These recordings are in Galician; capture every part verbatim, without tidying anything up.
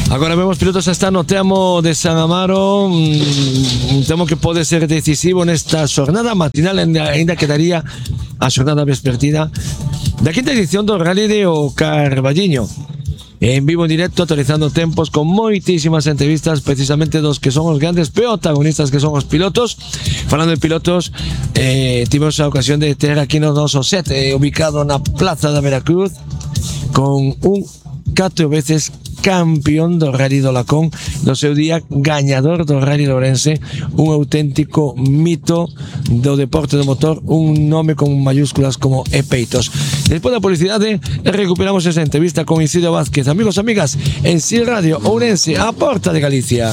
Agora vemos pilotos está no tramo de San Amaro, un tramo que pode ser decisivo nesta xornada matinal, ainda quedaría a xornada vespertina da quinta edición do Rally de O Carballiño. En vivo, en directo, actualizando tempos con moitísimas entrevistas precisamente dos que son os grandes protagonistas, que son os pilotos. Falando de pilotos, eh, tivemos a ocasión de ter aquí no noso set eh, ubicado na Plaza da Veracruz con un catro veces campeón do Rally do Lacón, do seu día gañador do Rally de Ourense, un auténtico mito do deporte do motor, un nome con mayúsculas como e peitos. Despois da publicidade recuperamos esa entrevista con Isidro Vázquez. Amigos, amigas, en S I L Radio Ourense, a porta de Galicia.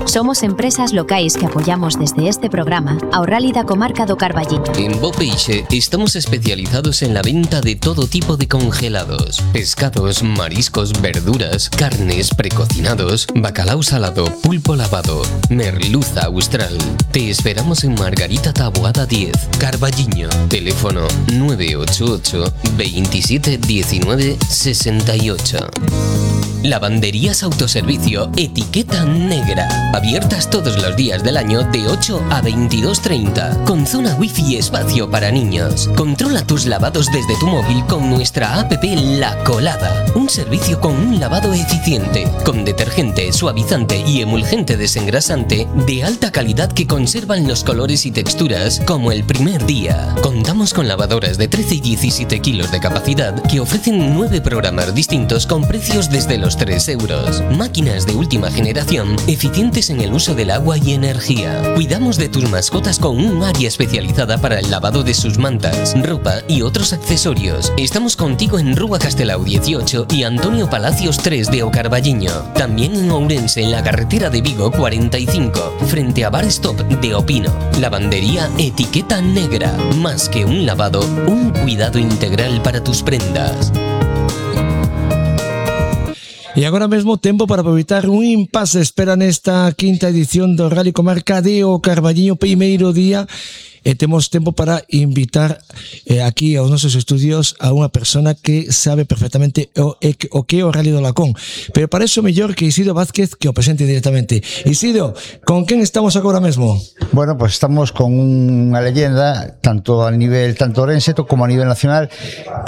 Somos empresas locais que apoyamos desde este programa ao Rally da comarca do Carballiño. En Bo Peixe estamos especializados en la venta de todo tipo de congelados, pescados, mariscos, verduras, carnes, precocinados, bacalao salado, pulpo lavado, merluza austral. Te esperamos en Margarita Taboada diez, Carballiño. Teléfono nueve ocho ocho, veintisiete diecinueve sesenta y ocho. Lavanderías Autoservicio Etiqueta Negra. Abiertas todos los días del año de ocho a veintidós treinta. Con zona wifi y espacio para niños. Controla tus lavados desde tu móvil con nuestra app La Colada. Un servicio con un lavado eficiente. Con detergente, suavizante y emulgente desengrasante de alta calidad que conservan los colores y texturas como el primer día. Contamos con lavadoras de trece y diecisiete kilos de capacidad que ofrecen nueve programas distintos con precios desde los tres euros. Máquinas de última generación, eficientes en el uso del agua y energía. Cuidamos de tus mascotas con un área especializada para el lavado de sus mantas, ropa y otros accesorios. Estamos contigo en Rúa Castelao dieciocho y Antonio Palacios tres de O Carballiño. También en Ourense, en la carretera de Vigo cuarenta y cinco, frente a Bar Stop de Opino. Lavandería Etiqueta Negra. Más que un lavado, un cuidado integral para tus prendas. E agora mesmo tempo para aproveitar un impasse de espera nesta quinta edición do Rally Comarca de O Carballiño, primeiro día, e temos tempo para invitar eh, aquí aos nosos estudios a unha persona que sabe perfectamente o, o que é o Rally do Lacón, pero para eso mellor que Isidro Vázquez que o presente directamente. Isidro, con quen estamos agora mesmo? Bueno, pues estamos con unha leyenda tanto a nivel tanto orense como a nivel nacional,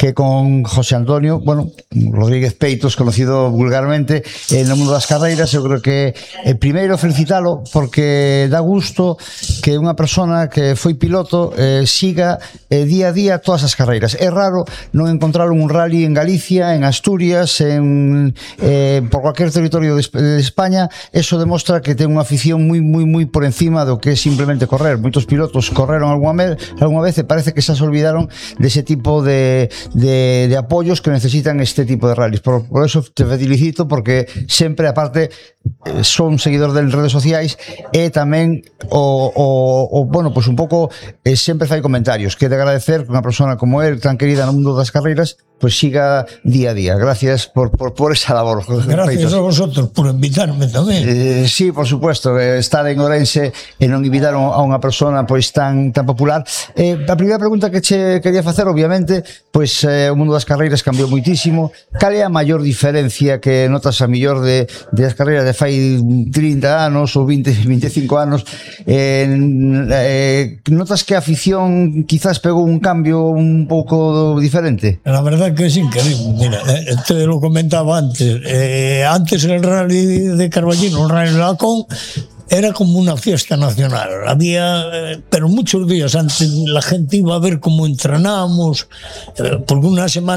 que con José Antonio, bueno, Rodríguez Peitos, conocido vulgarmente en el mundo das carreiras. Eu creo que eh, primeiro felicitalo porque dá gusto que unha persona que foi piloto eh, siga eh, día a día todas as carreiras. É raro non encontrar un rally en Galicia, en Asturias, en eh, por cualquier territorio de, de España. Eso demostra que ten unha afición moi moi moi por encima do que é simplemente correr. Moitos pilotos correron algunha, algunha vez e parece que xa se olvidaron dese tipo de, de, de apoios que necesitan este tipo de rallies. Por, por eso te felicito porque sempre, aparte, son seguidor de redes sociais e tamén o, o, o bueno, pues un pouco eh, sempre fai comentarios que de agradecer que unha persona como él, tan querida no mundo das carreiras, pues siga día a día. Gracias por, por, por esa labor. Gracias a vosotros por invitarme tamén. Eh, sí, por supuesto, eh, estar en Ourense e non invitar a unha persona pois tan tan popular. Eh, a primeira pregunta que che quería facer, obviamente, pois eh, o mundo das carreiras cambiou moitísimo. Cal é a maior diferencia que notas a mellor de, de as carreiras de fai trinta anos ou vinte, vinte e cinco anos? Eh, eh, notas que a afición quizás pegou un cambio un pouco diferente? La verdad que es increíble. Mira, eh, te lo comentaba antes. Eh, antes el Rally de Carballiño, el Rally de Lacón, era como una fiesta nacional. Había, eh, pero muchos días antes la gente iba a ver cómo entrenamos, eh, porque una semana